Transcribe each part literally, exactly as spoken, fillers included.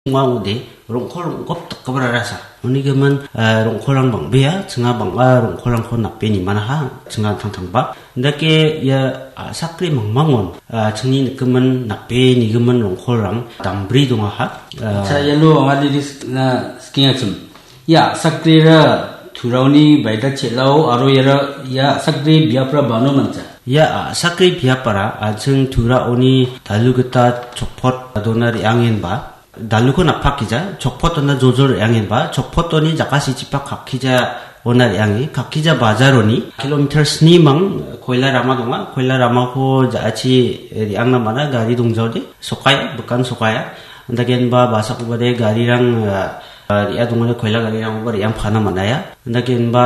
Ong·a ong·ode, rong·kol rong·gop dakgipararasa. Uni gimin, eh, rong·kolrang bang·bea, chinga bang·a rong·kolrangko nape nimanaha, chinga tangtangba. Indake ia a·sakre mangmangon, ah, chingni nigimin nape nigimin rong·kolrang dambri dongaha. Ah, Acha, iano anga didi sik-, na sikengachim. Ia a·sakrera Turaoni baita chel·ao aro iara ia a·sakre biapra bano mancha. Ia a·sakre biapara an·ching Turaoni dalu gita chokpot dona re·angenba, daluko napakija, chokpot dona joljol re·angenba, chokpot doni jakasichipak kakkija ona re·ange, kakkija bajaroni kilometer sni mang koila rama donga, koila ramako ja·achi re·angna man·a, gari dongjaode, sokaia, bikan sokaia. Andakenba basakobade garirang, ah, ah, re·a dongode koila garirangkoba re·angpana man·aia. Andakenba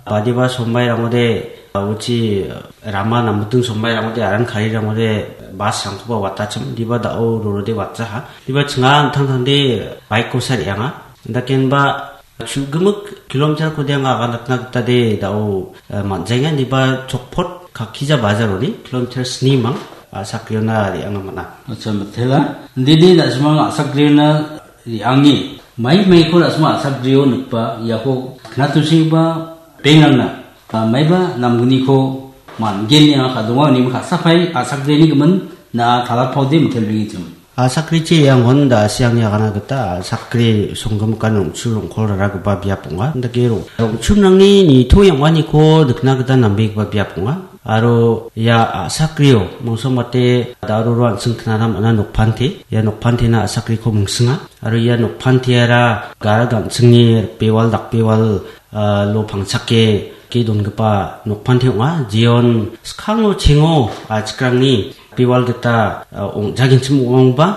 badiba sombairangode, ah, uchi, ah, rama nambuting sombairangode, aran karirangode, bus rangkoba watachim, diba da·o rorode watjaha. Diba chinga an·tangtangde bike kosa re·anga. Andakenba chu·gimik kilometer kode anga aganatna gitade da·o, ah, man·jaenga, diba chokpot kakkija bajaroni kilometer sni mang, ah, a·sakreona re·anga man·a. Acha, mitela. Didi da·simang a·sakreona re·ange, mai maiko da·sima a·sakrio nikba, iako knatosiba bengrangna, ah, maiba namgniko man·gen ine anga ka·donga, unimi ka·sapai a·sakrini gimin na talatpaode mitelbengechim. A·sakrichi iangon da·asi angni agana gita a·sakri songgimikan rong·chu rong·kol raragipa biap ong·a. Indake rong-, rong·chunrangni nitoe ong·aniko nikna gita nambegipa biap ong·a. Aro ia a·sakrio mongso mate da·roro an·ching knana man·a nokpante. Ia nokpantena a·sakriko mingsinga. Aro ia nokpanteara gara gan·chingni ripbewal dakbewal, ah, lo pangchake ge dongipa nokpante ong·a. Jeon skango chengo, ah, chikrangni ripbewal gita, ah, ong·jagenchim ong·ongba,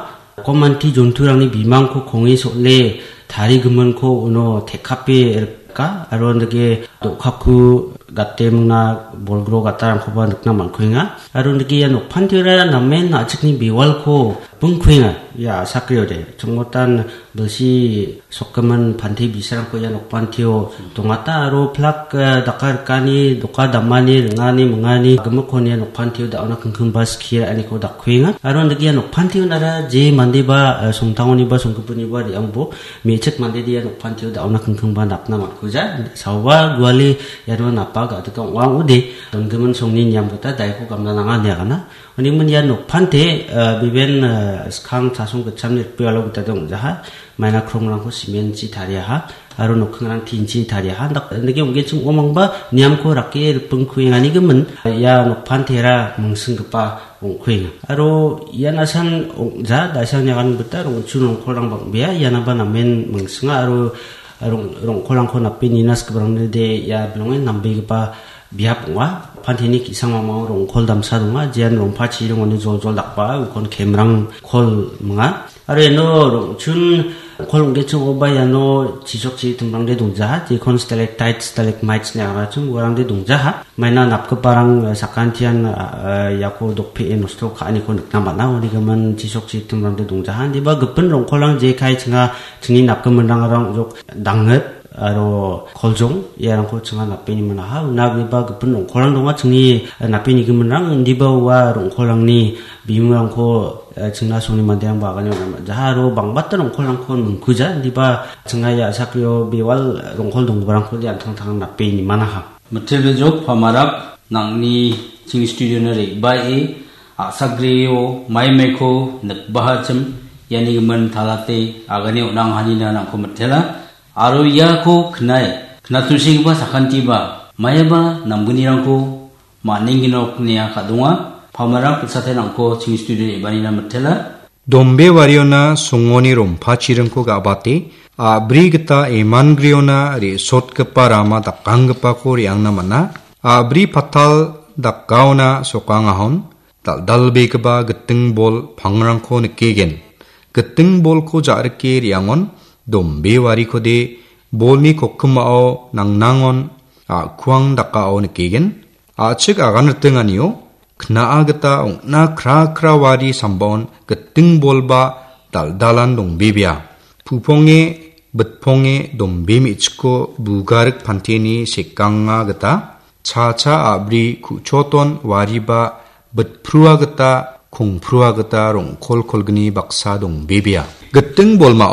komanti jonturangni bimangko konge sol·e tarigiminko uno tekkape rika, aro indake do·kaku gate mingna bolgro gatarangkoba nikna man·kuenga. Aro indake ia nokpantiora namen a·chikni bewalko bingkuenga. Ia a·sakriode chongmotan bilsi sokgimin pante bisarangko ia nokpantio dongata aro plak, eh, daka rikani, doka damani, ringani, mingani, gimikkon ia nokpantio da·ona kingkingba skie ra·aniko dakkuenga. Aro indake ia nokpantio nara je mandeba, eh, songtangoniba, songgipiniba re·angbo me·chik mandede ia nokpantio da·ona kingkingba napna man·kuja. Saoba guale iano napa ga·dika ong·a ong·ode, donggimin songni niam gita daiko gamna nanga ine agana. Unigimin ia nokpante, eh, biben, eh, skang chasong gitchamni rikbewalo gita dongjaha. Maina krongrangko cement-chi tariaha, aro nokkingrang tin-chi tariaha. Dak-, dake ong·genchim ong·omangba niamko rake ripingkuengani gimin, ia nokpantera mingsinggipa ong·kuenga. Aro ian asan ong·ja, da·sang niagan gita rong·chun rongkolrang bang·bea, ianaba namen mingsinga aro rong-, rongkolrangko nape nina skibrangde ia bilongen nambegipa biap ong·a. Panteni ki·sang mamao rongkol damsa donga, jean rongpa chiringoni joljol dakba, ukon kemrang kol minga. Aro iano rong·chun kol ong·genchim ong·oba iano chisok chi timrangde dongjaha, jekon stalactite, stalagmites ine anga chim uarangde dongjaha. Maina napgiparang, eh, sakantian, eh, iako dokpee nosto ka·aniko nikna man·a, unigimin chisok chi timrangde dongjaha. Indiba gipin rongkolrang jekai chinga chingni napgiminrangrang ong·jok dangit aro koljong iarangko chinga napeni man·aha. Una agreba gipin rongkolrang donga chingni, eh, napenigiminrang, indiba ua rongkolrangni bimungrangko, eh, chingna songni manderangba agane on·a man·jaha aro bangbata rongkolrangko mingkuja, indiba chinga ia a·sakrio bewal rongkol donggiparangkode an·tangtang napeni man·aha. Mittelbejok pamarak nang·ni ching studio-na re·bae a·sakrio maimaiko nikbahachim iani gimin talate agane on·angahanina nangko mitela. Aro iako knae, knatosigipa sakantiba, maiaba namgnirangko man·engenok ine anga ka·donga. Pamarak pitsate nangko ching studio re·baanina mitela. Dombe wariona songoni rompachiringko ga·bate, a·bri gita emangriona re·sotgipa rama dakanggipako re·angna man·a. A·bri patal dakaona sokangahon dal·dalbegipa giting bol pangrangko nikegen. Giting bolko ja·rike re·angon dombe warikode bolni kokkimao nangnangon a·kuang dakao nikegen. A·chik aganritinganio kna·a gita ong·na kra kra wari sambaon giting bolba dal·dalan dongbebea. Puponge, bitponge dombe me·chikko bugarik panteni sekanga gita cha cha a·bri ku·choton wariba bitprua gita kongprua gita rong·kol kolgni baksa dongbebea. Giting bolmao